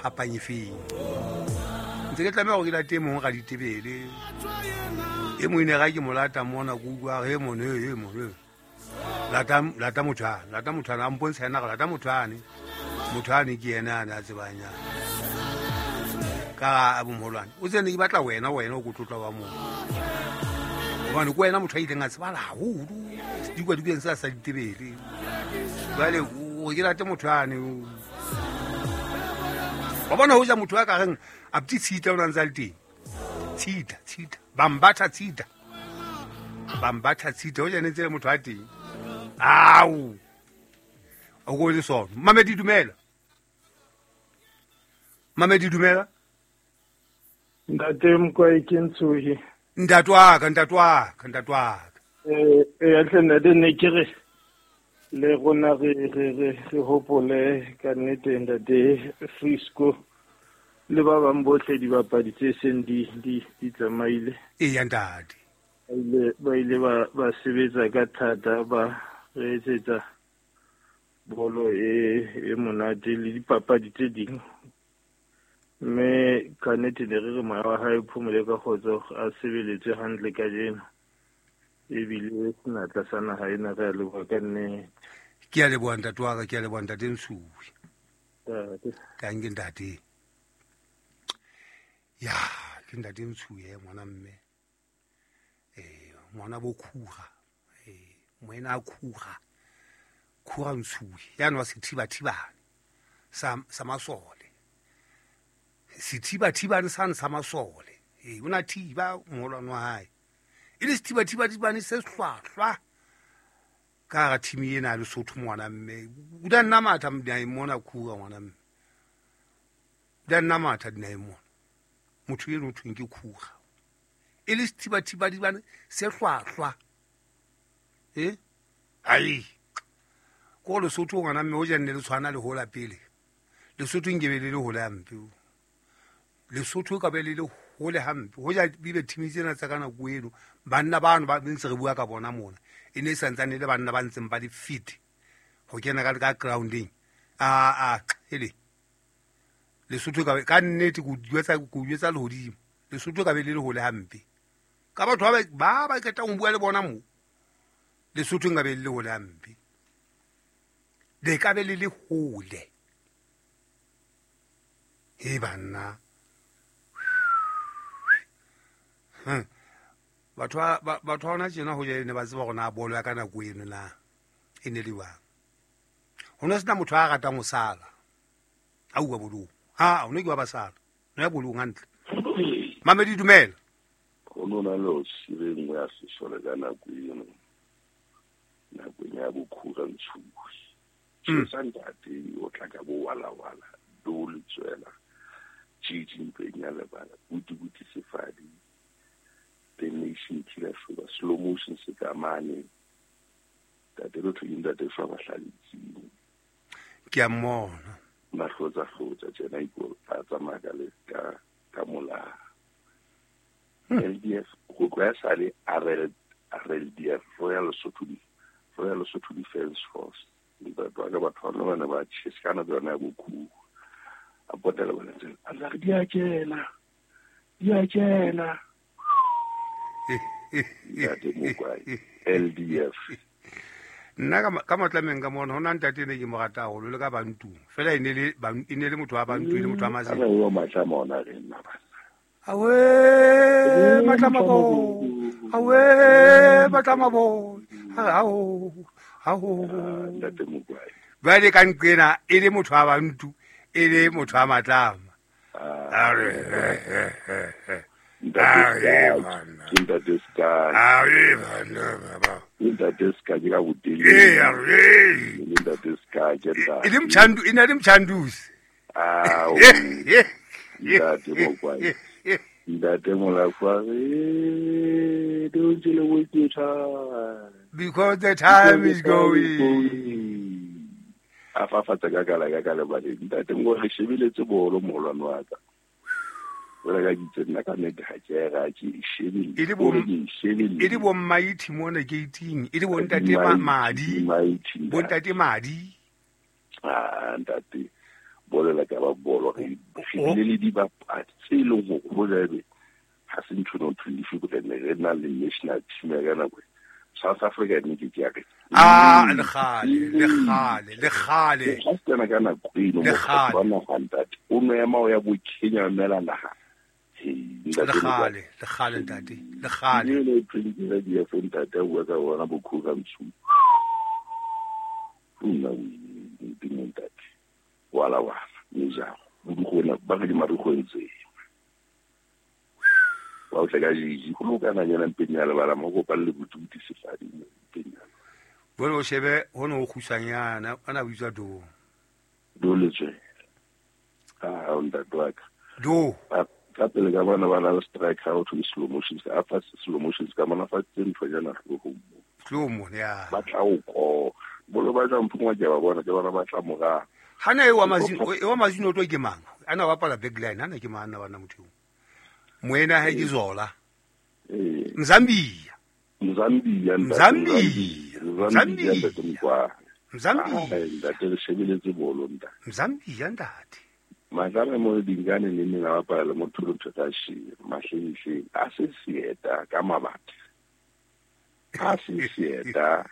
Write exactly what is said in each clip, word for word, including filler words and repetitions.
phapang e feng ntse ke tlameha gore ke late e mongwe ga ditebele e mongwe ne ga ke mo lata mona ke utlwa he mone he mone lata lata motho ane lata motho ane a mpontsha ena ga lata motho ane motho ane ke ena ane a tsebang yana ka a bomolwane o tsene ke batla wena wena o ko tlotla wa mong gobane ke wena motho a ileng a tsebala haholo dikwadikeng sa sa ditebele jwale o ke late motho ane wa bona ho ja motho a ka reng a pti tshita o na ntse a le teng tshita tshita bambatha tshita bambatha tshita o jane tse motho a teng ao o go le sona Mamedi dumela Mamedi dumela Ntate Mokwae ke Ntshohi ntate wa ka ntate wa ka ntate wa ka eh eh tle ntate ne ke re le rona re re re re hopole ka nnete ntate Frisco le ba bang bohle dibapadi tse seng di di di tsamaile e ya ntate ba ile ba ile ba ba sebetsa ka thata ba re etsetsa bolo e e monate le dipapadi tse ding mme ka nnete ne re re moya wa hae phomole ka kgotso a sebeletse hantle kajeno ebile senatla sa naha ena re a leboha ka nnete ke a leboha ntate wa ka ke a leboha ntate Ntshuwe ntate tanke ntate ya ke ntate Ntshuwe ngwana mme eh ngwana bo khuga eh moena a khuga khuga Ntshuwe yana wa sethibathibane sa sa masole sethibathibane sane sa masole eh o na thiba moholwane wa hae e le sethibathibane se hlwahlwa ka ga thimi ena ya Lesotho ngwana mme o da nna matha dinaheng mona khuga ngwana mme o da nna matha dinaheng mona motho eno o thweng ke khuga e le sethibathibane se hlwahlwa e ai ko Lesotho ngwana mme o jenne le tshwana le hola pele Lesotho nkebe le le hole hampe Lesotho ka be le le hole hampe ho ja bibe thimi tsena tsa ka nako eno banna bano ba ntse re bua ka bona mona e ne e santsane le banna ba ntseng ba le fit ho kena ka ka grounding a a hele Lesotho ka ka nnete go jwetsa go jwetsa lehodimo Lesotho ka be le le hole hampe ka batho ba ba ba qetang ho bua le bona mo Lesotho nka be le le hole hampe le ka be le le hole he banna batho ba batho hona tjena ho jene ba tseba hore na bolo ya ka nako eno na e ne le jwang ho no sena motho a ratang ho sala a uwa bolong ha o ne ke wa ba sala no ya bolong hantle Mamedi dumela ho no na le o sire nngwe ya sesole ka nako eno nakong ya bokhura Ntshuwe tjhesa ntate o tla ka bo wala wala do le tswela tjiji mpeng ya lebala buti buti sefadi the nation killer shoba slow motion se ka mane tate lo thwe ntate fa ba hlaletseng ke a mmona mahlotsa hlotsa tjena iko a tsamaya ka le ka ka mola L D F go tloha sale R L R L D F Royal Lesotho Royal Lesotho Defence Force ntate wa ka batho ba ne ba tjhesa ka nako yona ya bokhugo a potela bona tsela a re di a kena di a kena ntate Mokwae L D F nna ka ka matlameng ka mona hona ntate ne ke mo rata haholo le ka bantu fela e ne le e ne le motho wa bantu le motho wa mazini o matlama ona re nna bana awe matlama bo awe matlama bo ao ao ntate Mokwae jwale ka nqena e le motho wa bantu e le motho wa matlama a re ntate ntate ska a bana baba ntate ska ke ka botele e a re ntate ska ke ntate e le mchandu e na le mchandusi ah ntate Mokwae ntate Molafwa re don't you waste your time because the time is going a fafatsa ka kala ka kala ba ntate mo re shebeletse bolo molwane wa ka ora ka ditse nna ka nnete ha ke ra ke shebile e le bo e le bo maithi mona gating e le bo ntate madi bo ntate madi ah ntate bolo la ka ba bolo re Re bile le dibapadi tse leng hore ho jabe ha se ntho no twenty re ne re na le national team ya ka nako South Africa ne ke ke ah le khale le khale le khale ha se kana ka nako eno mo bona ga ntate o no ema o ya bo Kenya mela naha le khale le khale ntate le khale le twenty di ya ntate o ka bona bo khuka mtsu nna o ntate wala wala nja go ba re di marugo ntse wa o tla ka jiji go loka na yena mpenya le bala mo go palle botuti sefadi mpenya bone o shebe ho no khusanyana ana buitswa do do letswe ah o ntate wa ka do ka pele ka bona ba la strike out to slow motion ka fa slow motion ka mona fa tse ntho jana hlogo slow mo ya ba tla o ko bolo ba tla mphungwa ke ba bona ke bona ba tla mora hana e wa mazino e wa mazino to ke mang ana wa pala backline ana ke mang ana bana motho moena ha ke zola eh Mzambia Mzambia Mzambia Mzambia Mzambia Mzambia ntate le shebeletse bolo ntate Mzambia ntate Madame mo dingane le nna ba pala motho lo thata shi mahlenihle a se sieta ka mabati a se sieta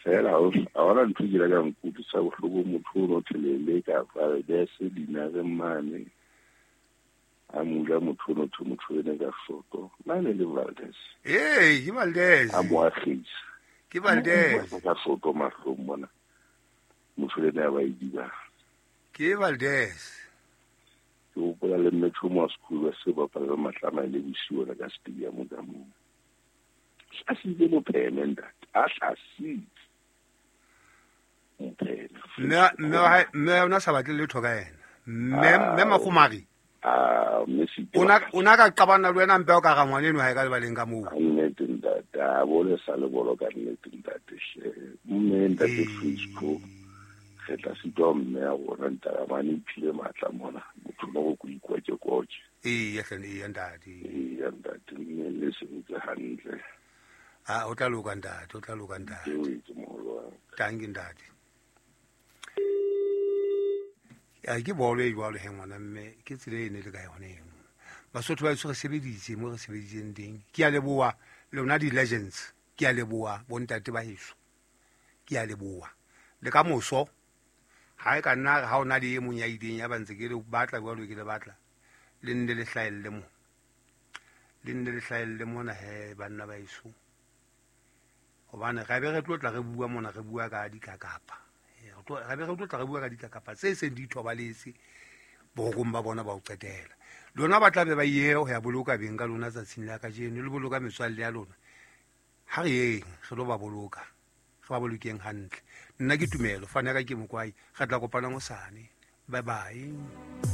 fela o a ona ntho ke la ka nkutlwisa bohloko motho o no thelele ka Valdez dinare mane a mula motho no tho motho ene ka foto mane le Valdez eh ke Valdez a mo agisa ke Valdez ka foto mahlong mona motho le ne ba idiba ke Valdez ke hopola le metro mo school ba se ba pala matlama le bosiwa ka stadium ka mo a se le mopheme ntate a hlasitse mopheme mme mme mme ona sa batle letho ka yena mme mme Magomari ah mme se ona ona ka qabana le wena mpe o ka ga ngwane eno ha e ka lebaleng ka moo nnete ntate a bole sa le bolo ka nnete ntate mme ntate Frisco re tla sitwa mme ya rona ntate mane iphile matla mona motho no go ikwa ke koche ee ya hlane ee ntate ee ntate mme le sebetse hantle ah o tla loka ntate o tla loka ntate tanki ntate a ke bolo e jwalo he ngwana mme ke tsela e ne le ka yone eno Basotho ba re sebeditse mo re sebeditseng teng ke a leboha lona di-legends ke a leboha bontate ba heso ke a leboha le ka moso ha e ka nna ha ona le e mong ya ileng ya ba ntse ke le batla jwalo ke le batla le nne le hlahelle mo le nne le hlahelle mona he banna ba heso hobane ra be re tlo tla re bua mona re bua ka dikakapa ra be re tlo tla re bua ka dikakapa tse seng di thobaletse borokong ba bona ba o qetela lona ba tla be ba ye ho ya boloka beng ka lona tsatsing la kajeno le boloka metswalle ya lona ha re yeng re lo ba boloka re ba bolokeng hantle nna ke Tumelo fana ka ke Mokwai re tla kopana hosane bye bye.